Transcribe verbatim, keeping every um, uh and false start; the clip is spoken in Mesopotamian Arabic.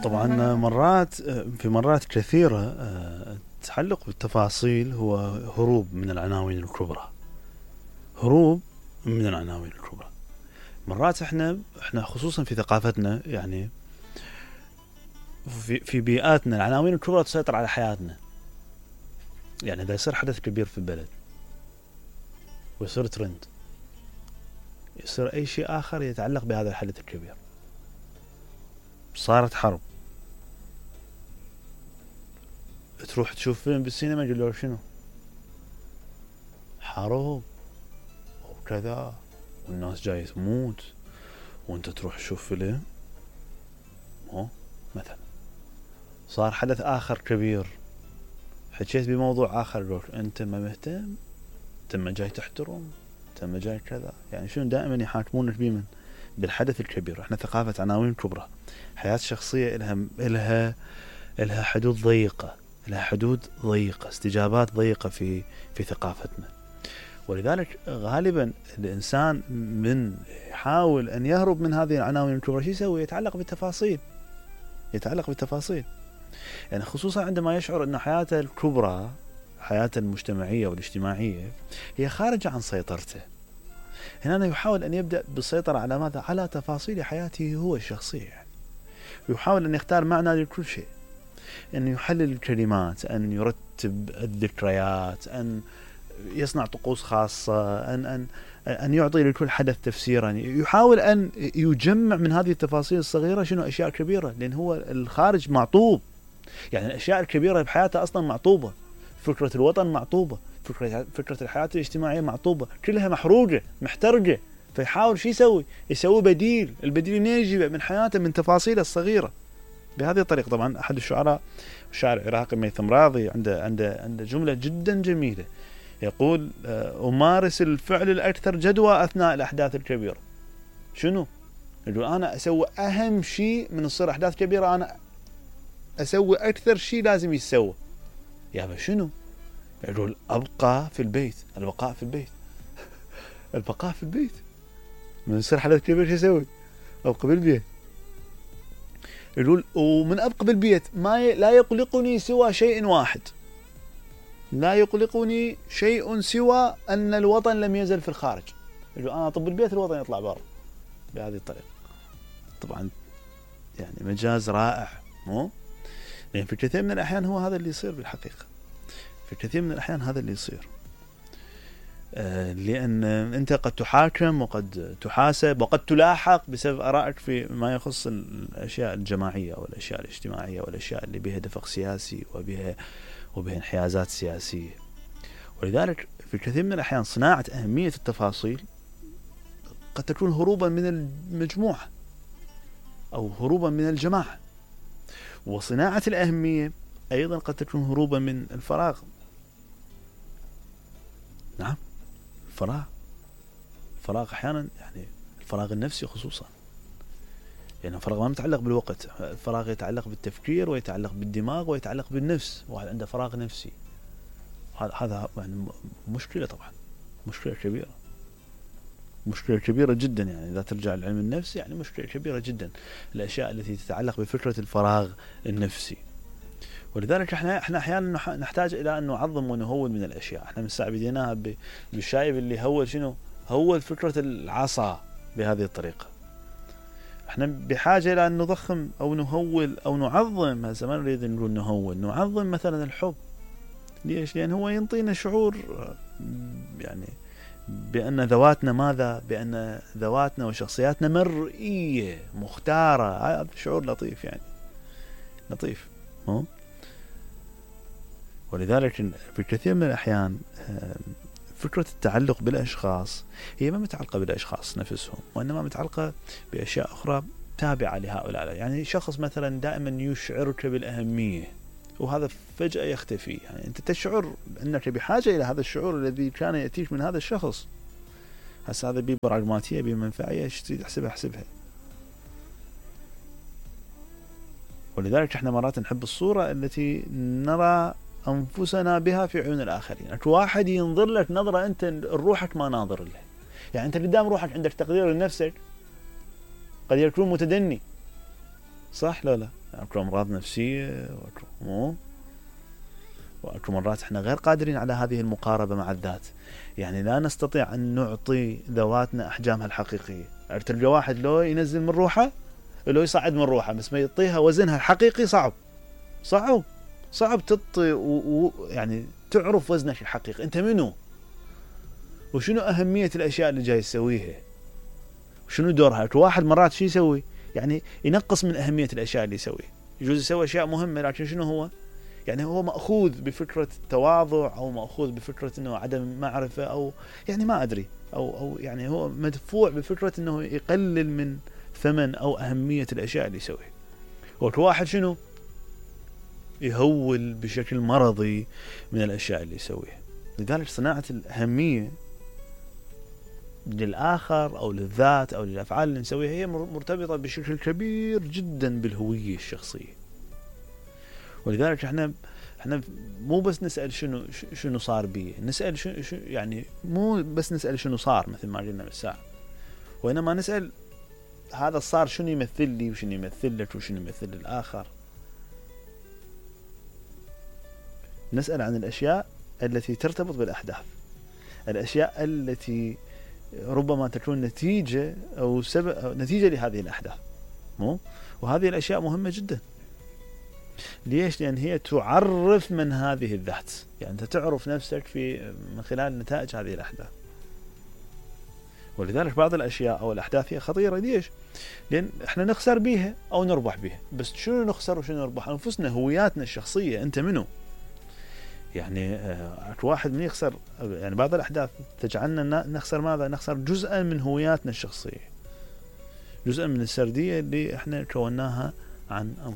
طبعا مرات في مرات كثيرة التعلق بالتفاصيل هو هروب من العناوين الكبرى، هروب من العناوين الكبرى. مرات احنا احنا خصوصا في ثقافتنا، يعني في في بيئاتنا العناوين الكبرى تسيطر على حياتنا. يعني اذا يصير حدث كبير في البلد ويصير ترند، يصير اي شيء اخر يتعلق بهذا الحدث الكبير. صارت حرب، تروح تشوف فيلم بالسينما يقول شنو؟ حرب وكذا والناس جاي تموت، وانت تروح تشوف فيلم مو مثلا. صار حدث اخر كبير، حكيت بموضوع اخر يقول انت ما مهتم، انت ما جاي تحترم، انت ما جاي كذا. يعني شنو دائما يحاكمونك بمن؟ بالحدث الكبير. احنا ثقافة عناوين كبرى، حياة شخصية إلها إلها إلها حدود ضيقة، إلها حدود ضيقة، استجابات ضيقة في في ثقافتنا. ولذلك غالبا الإنسان من يحاول أن يهرب من هذه العناوين الكبرى شو يسوي؟ يتعلق بالتفاصيل، يتعلق بالتفاصيل. يعني خصوصا عندما يشعر أن حياته الكبرى، حياته المجتمعية والاجتماعية هي خارجة عن سيطرته. هنا يحاول أن يبدأ بالسيطرة على ماذا؟ على تفاصيل حياته هو الشخصية. يعني يحاول أن يختار معنى لكل شيء، أن يحلل الكلمات، أن يرتب الذكريات، أن يصنع طقوس خاصة، أن أن أن يعطي لكل حدث تفسيرا. يحاول أن يجمع من هذه التفاصيل الصغيرة شنو؟ أشياء كبيرة، لأن هو الخارج معطوب. يعني الأشياء الكبيرة بحياته أصلا معطوبة، فكرة الوطن معطوبة، فكرة فكرة الحياة الاجتماعية معطوبة، كلها محروقة محترقة. فيحاول شو يسوي؟ يسوي بديل. البديل منين يجيبه؟ من حياته، من تفاصيله الصغيرة. بهذه الطريقة. طبعا أحد الشعراء، الشاعر العراقي ميثم راضي، عنده عنده عنده جملة جدا جميلة، يقول أمارس الفعل الأكثر جدوى أثناء الأحداث الكبيرة. شنو؟ يقول أنا أسوي أهم شيء من تصير أحداث كبيرة، أنا أسوي أكثر شيء لازم يسوى. يا شنو؟ يقول أبقى في البيت. البقاء في البيت البقاء في البيت. من يصير حدث كبير شو يسوي؟ أبقى بالبيت. يقول ومن أبقى بالبيت ما ي... لا يقلقني سوى شيء واحد، لا يقلقني شيء سوى أن الوطن لم يزل في الخارج. يقول أنا أطب البيت، الوطن يطلع برا. بهذه الطريقة. طبعا يعني مجاز رائع، مو؟ لأن في كثير من الأحيان هو هذا اللي يصير بالحقيقة. في كثير من الأحيان هذا اللي يصير. آه لأن أنت قد تحاكم وقد تحاسب وقد تلاحق بسبب آرائك في ما يخص الأشياء الجماعية والأشياء الاجتماعية والأشياء اللي بها دفق سياسي وبها وبها انحيازات سياسية. ولذلك في كثير من الأحيان صناعة أهمية التفاصيل قد تكون هروبا من المجموعة أو هروبا من الجماعة، وصناعة الأهمية أيضا قد تكون هروبا من الفراغ. نعم، الفراغ الفراغ أحيانا، يعني الفراغ النفسي خصوصا. يعني الفراغ ما متعلق بالوقت، الفراغ يتعلق بالتفكير ويتعلق بالدماغ ويتعلق بالنفس. واحد عنده فراغ نفسي، هذا يعني مشكلة. طبعا مشكلة كبيرة، مشكلة كبيرة جدا. يعني إذا ترجع لعلم النفس، يعني مشكلة كبيرة جدا الأشياء التي تتعلق بفكرة الفراغ النفسي. ولذلك احنا احنا احيانا نحتاج الى ان نعظم ونهول من الاشياء. احنا من ساعه بديناها بالشايب اللي هول شنو؟ هول فكره العصا بهذه الطريقه. احنا بحاجه الى ان نضخم او نهول او نعظم. هسه ما نريد نقول نهول، نعظم مثلا الحب. ليش؟ لان هو ينطينا شعور، يعني بان ذواتنا ماذا؟ بان ذواتنا وشخصياتنا مرئيه مختاره. هذا شعور لطيف، يعني لطيف، مو؟ ولذلك في كثير من الأحيان فكرة التعلق بالأشخاص هي ما متعلقة بالأشخاص نفسهم، وإنما متعلقة بأشياء أخرى تابعة لهؤلاء. يعني شخص مثلا دائما يشعرك بالأهمية، وهذا فجأة يختفي. يعني أنت تشعر أنك بحاجة إلى هذا الشعور الذي كان يأتيك من هذا الشخص. هسه هذا ببراغماتية بمنفعية، ايش تريد احسبها احسبها. ولذلك احنا مرات نحب الصورة التي نرى أنفسنا بها في عيون الآخرين. واحد ينظر لك نظرة أنت روحك ما ناظر له. يعني أنت قدام روحك عندك تقدير لنفسك، قد يكون متدني، صح لا لا؟ اكو امراض نفسيه واكو مو واكو مرات احنا غير قادرين على هذه المقاربه مع الذات، يعني لا نستطيع ان نعطي ذواتنا احجامها الحقيقيه. تلقى واحد لو ينزل من روحه لو يصعد من روحه بس ما يعطيها وزنها الحقيقي صعب صعب صعب تعطي يعني تعرف وزنك الحقيقي انت منو وشنو اهميه الاشياء اللي جاي تسويها وشنو دورها. واحد مرات شو يسوي يعني ينقص من اهميه الاشياء اللي يسويها، يجوز يسوي اشياء مهمه لكن شنو هو يعني هو مأخوذ بفكرة التواضع أو مأخوذ بفكرة إنه عدم معرفة أو يعني ما أدري أو أو يعني هو مدفوع بفكرة إنه يقلل من ثمن أو أهمية الأشياء اللي يسويها. وواحد شنو يهول بشكل مرضي من الأشياء اللي يسويها. لذلك صناعة الأهمية للآخر أو للذات أو للأفعال اللي نسويها هي مرتبطة بشكل كبير جدا بالهوية الشخصية. ولذلك احنا احنا مو بس نسأل شنو شنو صار بي، نسأل شنو يعني مو بس نسأل شنو صار مثل ما قلنا بالساعة، وإنما نسأل هذا الصار شنو يمثل لي وشنو يمثل لك وشنو يمثل للآخر. نسأل عن الأشياء التي ترتبط بالأحداث، الأشياء التي ربما تكون نتيجة أو سبب أو نتيجة لهذه الأحداث مو وهذه الأشياء مهمة جدا. ليش؟ لأن هي تعرف من هذه الذات، يعني أنت تعرف نفسك في من خلال نتائج هذه الأحداث. ولذلك بعض الأشياء أو الأحداث هي خطيرة. ليش؟ لأن إحنا نخسر بيها أو نربح بيها، بس شنو نخسر وشنو نربح؟ أنفسنا، هوياتنا الشخصية، أنت منو؟ يعني آه واحد من يخسر يعني بعض الأحداث تجعلنا نخسر ماذا؟ نخسر جزءا من هوياتنا الشخصية، جزءا من السردية اللي إحنا كوناها عن